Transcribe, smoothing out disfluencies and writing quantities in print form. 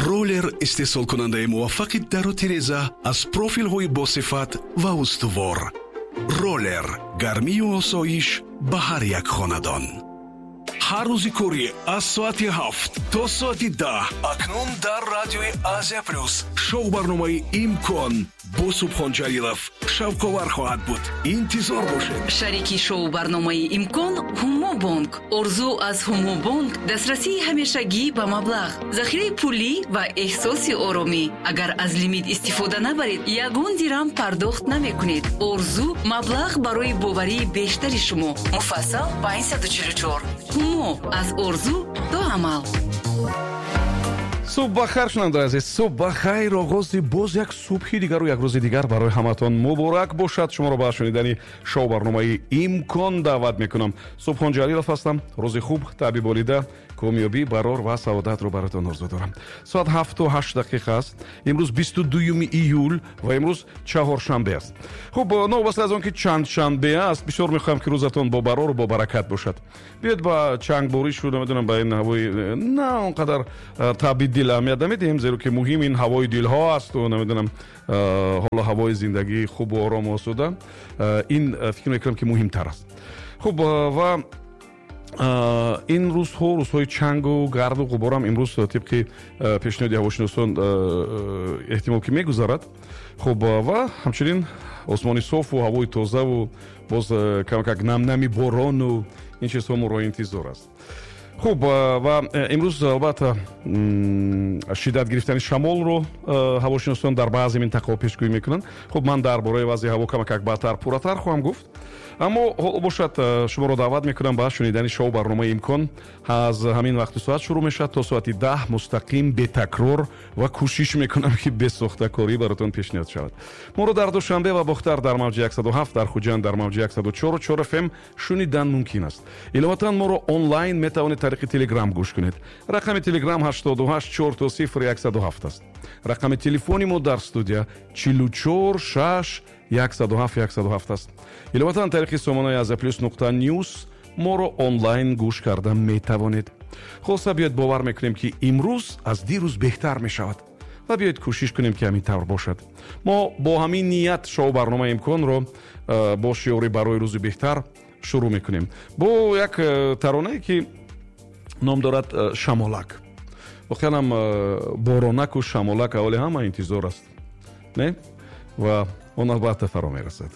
Роллер истеҳсолкунандаи муваффақи дару тиреза аз профилҳои босифат ва устувор. Роллер гармию осоиш ба ҳар як хонадон. Ҳар рӯзи корӣ аз соати 7 то соати 10 акнун дар радиои Азия Плюс шоу барномаи «Имкон» бо Субҳон Ҷалилов шавқовар хоҳад буд. Интизор бошед. Шарики шоу барномаи «Имкон» Ҳумобонк. Орзу аз Ҳумобонк дастрасии ҳамешагӣ ба маблағ, захираи пулӣ ва эҳсоси оромӣ. Агар аз лимит истифода набаред, ягон дирам пардохт намекунед. Орзу маблағ барои боварии бештари шумо. Муфассал 544. Ҳумо аз орзу то амал. Субҳ бахайр, шунавандаи азиз, субҳ бахайр. Оғози боз як субҳи дигару як рӯзи дигар барои ҳаматон муборак бошад. Шуморо ба шунидани шоу барномаи «Имкон» даъват мекунам. Субҳон Ҷалилов ҳастам. Рӯзи хуб, таъби болида, комёбӣ, барор ва саодатро бароятон орзу дорам. Соат 7:08 аст. Имрӯз 22 июл ва имрӯз чаҳоршанбе аст. Хуб, новобаста аз он ки чанд шанбе аст, бисёр мехоҳам, ки рӯзатон бо барору бо баракат бошад. Биёед, ба чангборишу, намедонам, ба ин ҳавои на он қадар таъби дил аҳамият намедиҳем, зеро ки муҳим ин ҳавои дилҳо асту, намедонам, ҳоло ҳавои зиндагии хубу орому осуда, ин фикр мекунам, ки муҳимтар аст. Хуб, ва ин рӯзҳо рӯзҳои чангу гарду ғуборам имрӯз тибқи пешниҳоди ҳавошиносон эҳтимол ки мегузарад. Хуб, ва ҳамчунин осмони софу ҳавои тозаву боз камакак намнами борону ин чизҳо моро интизор аст. Хуб, ва имрӯз албатта шиддат гирифтани шамолро ҳавошиносон дар баъзе минтақаҳо пешгӯӣ мекунанд. Хуб, ман дар бораи вазъи ҳаво камакак баъдтар пурратар хоҳам гуфт, аммо ҳоло бошад, шуморо даъват мекунам ба шунидани шоу барномаи «Имкон». Аз ҳамин вақту соат шурӯъ мешавад то соати 10, мустақим, бетакрор ва кӯшиш мекунам, ки бесохтакорӣ баротон пешниҳод шавад. Моро дар Душанбе ва Бохтар дар мавҷи 107, дар Хуҷанд дар мавҷи 104,4 ФМ шунидан мумкин аст. Иловатан моро онлайн метавонед тариқи Телеграм гӯш кунед. Рақами Телеграм 88 000 107 аст. Рақами телефони мо дар студия 44 6 107 107 аст. Иловатан тариқи сомонаи Азия Плюс.news моро онлайн гӯш карда метавонед. Хулоса, биёед, бовар мекунем, ки имрӯз аз дирӯз беҳтар мешавад, ва биёед, кӯшиш кунем, ки ҳамин тавр бошад. Мо бо ҳамин ният шоу барномаи «Имконро» бо шиори «Барои рӯзи беҳтар» шурӯъ мекунем, бо як таронае, ки ном дорад «Шамолак». Воқеан ҳам боронаку шамолак аввали ҳама интизор аст, не? Ва он албатта фаро мерасад.